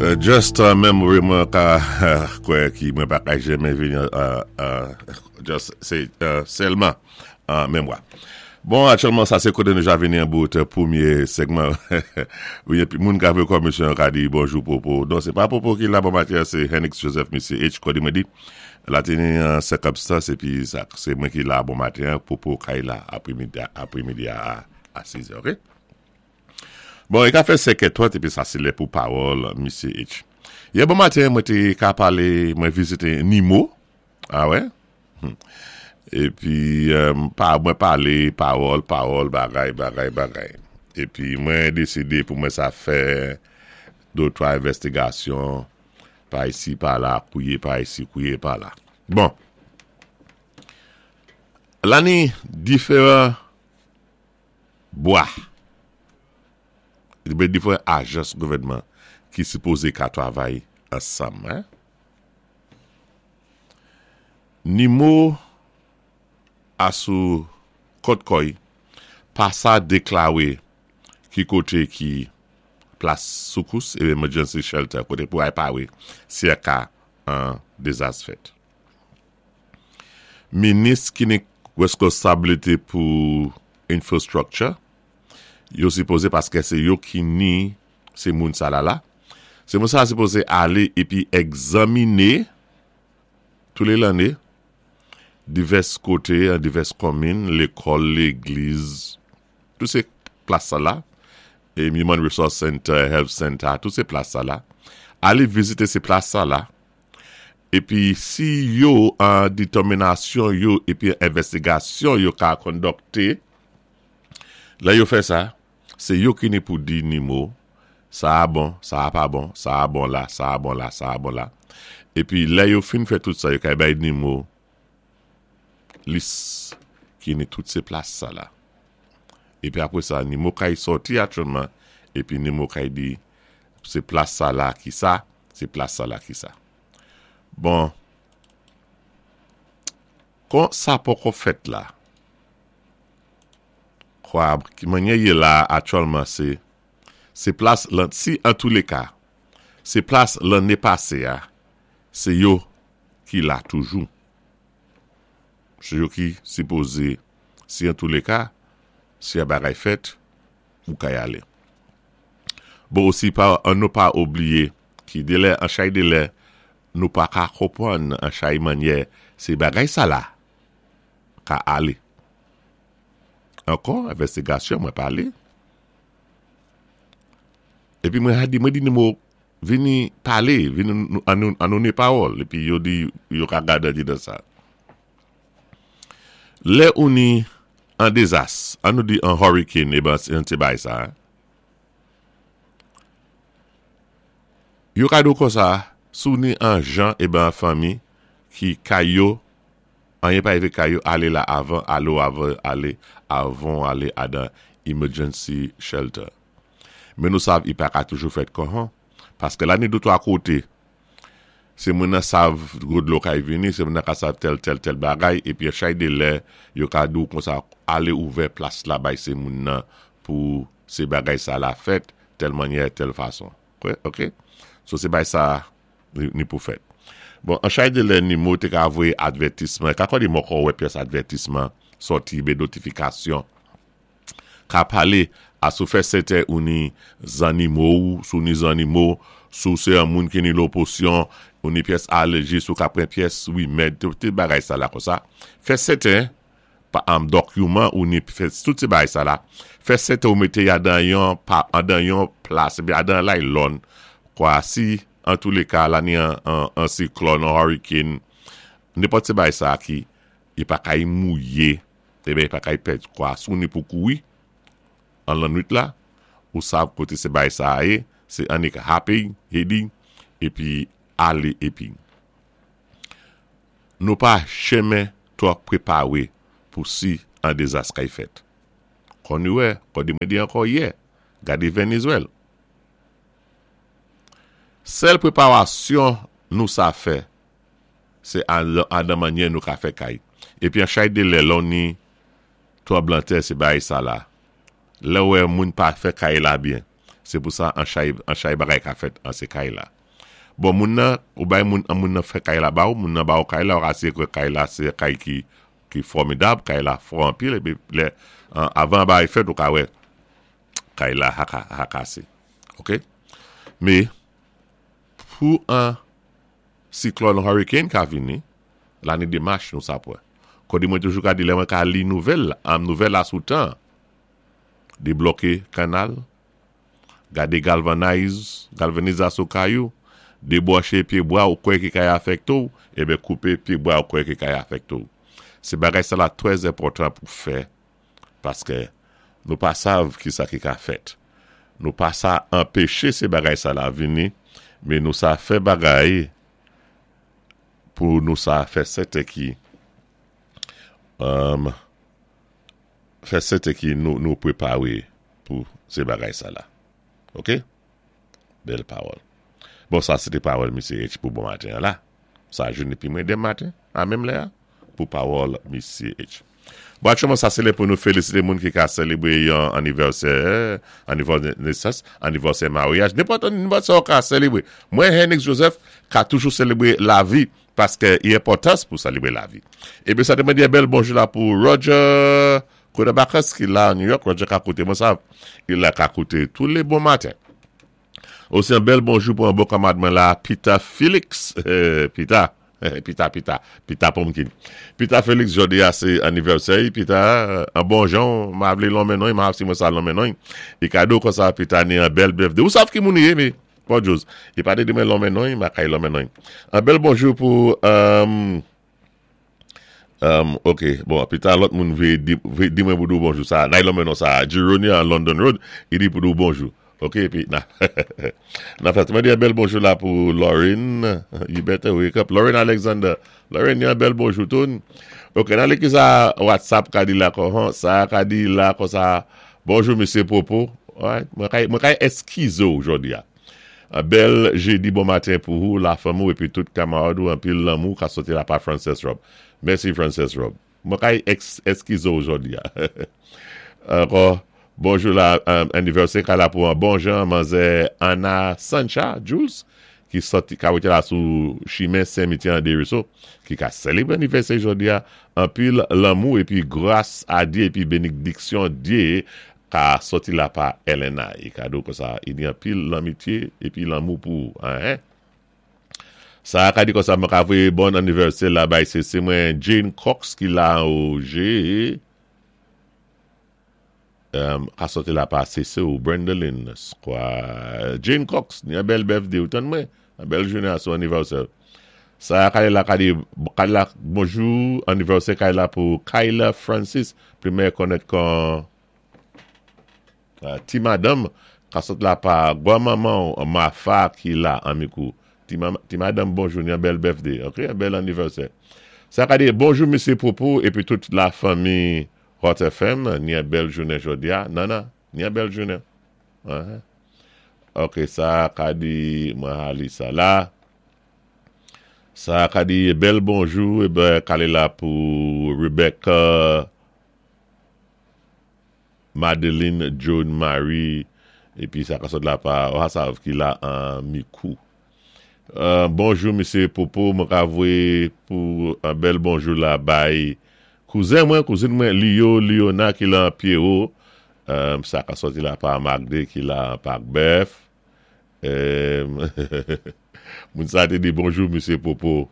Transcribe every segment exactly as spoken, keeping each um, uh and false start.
Uh, just uh, memory mwen ka kwè ki mwen pa ka jeme vini uh, uh, just se uh, sèlman uh, memwa. Bon, aktyèlman sa se koté nou ja vini an bout pwémyé segman. Moun ka vè komisyon ka di bonjou Popo. Don sé pa Popo ki la bon maten, sé Henix Joseph, Misye H. Kodi mwen di. La teni an sikonstans epi sa sé mwen ki la bon maten, Popo kay la apwémidi a a sis è, ok? Bon, i ka fè senkè twant epi sa sé lè pou pawòl Misye H. Yè bon maten mwen té ka palé, mwen vizité Nimo. A wè? Epi, pa, mwen palé pawòl, pawòl, bagay, bagay, bagay. Epi mwen désidé pou mwen sa fè dé twa envèstigasyon pa isi, pa la, kouwé pa isi, kouwé pa la. Bon. La ni diferan bwa, diferan ajans gouvèdman ki sipozé ka twavay ansanm. Hein? Nimo asou kòt kò'y pa sa déklawé ki koté ki plas soukous é emergency shelter koté pou ay pawé si a ka an dézas fèt. Minis ki ni weskonsabilité pou infrastructure, yo sipozé paské sé yo ki ni sé moun sa la la, sé moun sa sipozé alé épi egzaminé tou lé lanné divès koté, an divès konmin, lékòl, légliz, tou sé plas sa la, é Human Resource Center, Health Center, tou sé plas sa la, alé vizité sé plas sa la, épi si yo an détèminasyon yo, épi envèstigasyon yo ka kondokté, la yo fè sa, sé yo ki ni pou di Nimo, sa a bon, sa a pa bon, sa a bon la, sa a bon la, sa a bon la. Épi lè yo fin fè tout sa, yo kay bay Nimo lis ki ni tout sé plas sa la. Épi apwé sa, Nimo kay sòti aktyèlman, épi Nimo kay di, sé plas sa la ki sa, sé plas sa la ki sa. Bon, kon sa poko fèt la, kwa, ki manyè yé la aktyèlman sé, sé plas lan, si an tou lé ka, sé plas lanné pasé a, sé yo ki la toujou. Sé yo ki sipozé, si an tou lé ka, si a bagay fèt, ou kay alé. Bon, osi pa, an nou pa oubliyé ki délè, an chay délè, nou pa ka konpwann an chay manyè, sé bagay sa la, ka alé. Ankò, envèstigasyon mwen palé. Épi mwen a di, mwen di Nimo, vini palé, vini an nou, an nou ni pawòl, épi yo di, yo ka gade di dan sa. Lè ou ni an dézas, an nou di an hurricane, é ben, an ti bay sa, hein? Yo ka do kon sa, sou ni an jan, é ben an fanmi, ki kay yo, anyen pa évé kay yo, alé la avan, alé avan, alé avan, alé adan emergency shelter. Men nou sav, i pa ka toujou fèt kon han, paské la ni dé twa koté, sé moun nan sav gwo dlo kay vini, sé moun nan ka sav tèl, tèl, tèl bagay, épi a chay dé lè, yo ka dou kon sa, alé ouvè plas la bay sé moun nan pou sé bagay sa la fèt, tèl manyè, tèl fason. Ok? So sé bay sa ni, ni pou fèt. Bon, an chay dé lè Nimo té ka voyé advètisman, ka kon di moko wè pyès advètisman, sòti bé notifikasyon, ka palé a sou fè sèten ou ni zannimo ou, sou ni zannimo, sou sé an moun ki ni loposyon, ou ni pyès alèji, sou ka pren pyès wimèd, tout tout bagay sa la kon sa. Fè sèten, pa an dokiman ou ni fè tout sé bagay sa la, fè sèten ou mété ya dan yon pa, an dan yon plas, épi adan laylòn, kwa si, an tou lé ka, la ni an, an, an siklòn, an hurricane, nenpòt sé bagay sa ki, i pa kay mouyé, é ben i pa kay pèd, kwa sou ni pou kouri, an lannwit la, ou sav koté sé bagay sa yé, sé annik happy, heading, épi alé épi. Nou pa chemen twò préparé pou si an dézas kay fèt. Kon nou wè, kon di mwen di ankò yè, gadé Vénézwèl. Sèl préparasyon nou sa fè, sé an, an dan manyè nou ka fè kay. Épi an chay dé lè, lò ni tranblanntè sé bagay sa la. Lè wè moun pa fè kay la byen. Sé pou sa an chay, an chay bagay ka fèt an sé kay la. Bon, moun nan, ou bay moun, an moun nan fè kay la ba ou, moun nan ba ou kay la, ou asiré kwè kay la sé kay ki, ki fòmidab, kay la fò anpil, épi lè, an, avan bagay fèt ou ka wè, kay la ha, ha kasé. Ok? Mé, pou an siklòn hurricane ka vini, la ni demach nou sa pwè. Kòdi mwen toujou ka di lè mwen ka li nouvèl, am nouvèl la sou tan, débloké kanal, gadé galvanize, galvanizasyon kay ou, débranché pyé bwa ou kwè ki kay afèkté ou, ében koupé pyé bwa ou kwè ki kay afèkté ou. Sé bagay sa la trè enpòtan pou fè, paské nou pa sav ki sa ki ka fèt. Nou pa sa anpéché sé bagay sa la vini, mé nou sa fè bagay pou nou sa fè sèten ki um, fè sèten ki nou, nou préparé pou sé bagay sa la. Ok? Bèl pawòl. Bon, sa sé té pawòl Misyé H pou bon maten la. Sa jounen pi mwen denmen maten, a menm lè, pou pawòl Misyé H. Bon, aktyèlman, sa sé lè pou nou félisité moun ki ka sélébré yon anivèsè, anivèsè nesans, anivèsè maryaj, nenpòt nenpòt sa ka sélébré. Mwen, Henry Joseph, ka toujou sélébré lavi, paské i enpòtans pou sélébré lavi. Ében, sa té mwen di bèl bonjou la pou Roger Kodabakas ki la a New York. Roger ka kouté mwen sa, i la ka kouté tou lé bon maten. Osi yon bèl bonjou pou yon bon kanmarad mwen la, Peter Felix. Euh, Peter, Peter, Peter, Peter Pumpkin. Peter Felix, jòdi a sé anivèsè. Peter, an bon jan, ma vlé lonmen non, ma si mwen sa lonmen non. É kado kon sa, Peter ni yon bèl birthday. Ou sav ki moun yé, mé, pa Jose. I pa di mwen lonmen non, ma kay lonmen non. Yon bèl bonjou pou, um, um, ok, bon, Peter, lòt moun vlé di, vlé di mwen pou di bonjou sa. Nay lonmen non sa, Gironia London Road, i di pou di bonjou. Ok, épi, nan, nan fèt, mwen di yon bèl bonjou la pou Lauren, you better wake up, Lauren Alexander, Lauren, yon bèl bonjou toun. Ok, nan lé ki sa WhatsApp ka di la kon, sa ka di la kon sa, bonjou Misyé Popo, ouais, mwen kay, mwen kay eskize ou jòdi a. Yon bèl jédi bon maten pou ou, la fanmi épi tout kanmarad ou, anpil lanmou ka sòti la pa Frances Rob. Mèsi Frances Rob. Mwen kay eskize ou jòdi a. Ankò, bonjou la, um, anivèsè ka la pou an bon jan, manzè Anna Sancha Jules, ki sòti, ka wété la sou chimen Saint-Mitien Desruisseaux, ki ka sélébré anivèsè jòdi a, anpil lanmou épi gras a Dyé épi bénédiksyon Dyé ka sòti la pa Elena. É kado kon sa, i di anpil lanmityé épi lanmou pou, hein? Sa ka di kon sa, mwen ka voyé bon anivèsè la bay sé sé mwen Jane Cox ki la o G. Um, ka sòti la pa Sese ou Brendolyn Square. Jane Cox, ni yon bèl birthday ou tann mwen, yon bèl jounen a son anivèsè. Sa kay la ka di, kay la, bonjou, anivèsè kay la pou Kyla Francis, pli konnèt kon uh, ti madame, ka sòti la pa granmanman Mafa ki la an Mikou. Ti, ti madame, bonjou, ni yon bèl birthday, ok, yon bèl anivèsè. Sa ka di, bonjou Misyé Popo, épi tout la fanmi Hot F M, ni yon bèl jounen jòdi a. Nan nan, ni yon bèl jounen. Uh -huh. Ok, sa ka di, mwen ali sa la. Sa ka di, bèl bonjou, ében, kale la pou Rebecca, Madeline, John, Marie, épi sa ka sòt la pa, ou sav ki la an Mikou. Uh, bonjou, Misyé Popo, mwen ka voyé pou yon bèl bonjou la bay kouzen mwen, kouzin mwen, Leo, Leona ki la an Pierrot, um, sa ka sòti la pa Magde ki la an Pak Bèf. Um, moun sa té di bonjou, Misyé Popo.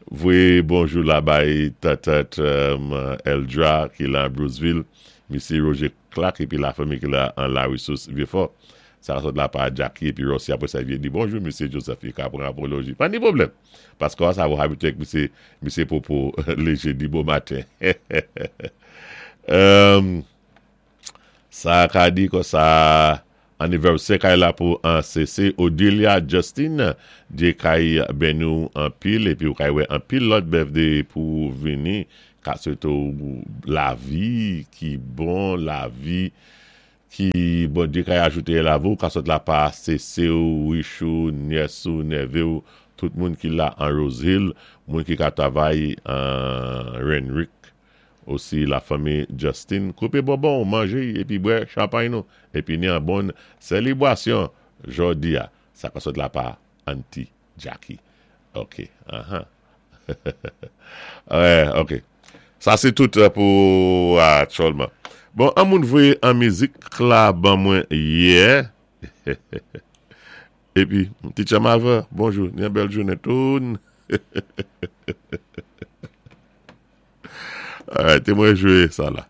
Voyé bonjou la bay tatat um, Eldra ki la an Bruceville, Misyé Roger Clark épi la fanmi ki la an La Ressource Vieux-Fort. Sa ka sòt la pa Jackie épi Rossi apwé sa vin di bonjou Misyé Joseph, i ka pran apoloji. Pa ni pwoblèm. Paské sa va abitwé ak Misyé, Misyé Popo lé jédi bon maten. um, sa ka di kon sa anivèsè kay la pou an C C Odilia Justin, Dyé kay béni ou anpil épi ou kay wè anpil lòt birthday pou vini, ka swété ou lavi ki bon, lavi ki bon Dyé kay ajouté la vou, ka sòt la pa C C ou, Richou, nyès ou, nèvé ou, tout moun ki la an Rose Hill, moun ki ka travay an Renwick. Osi la fanmi Justin, koupé bonbon, manjé épi bwè chanpay nou épi ni an bon sélébwasyon jòdi-a. Sa ka sot la pa Auntie Jackie. OK. Uh-huh. Wè, OK. Sa sé tout pou aktyèlman. Bon, an moun voyé an mizik la ban mwen yè. Épi, Teacher Malva, bonjou, ni an bèl jounen toun. Alright, té mwen jwé sa la.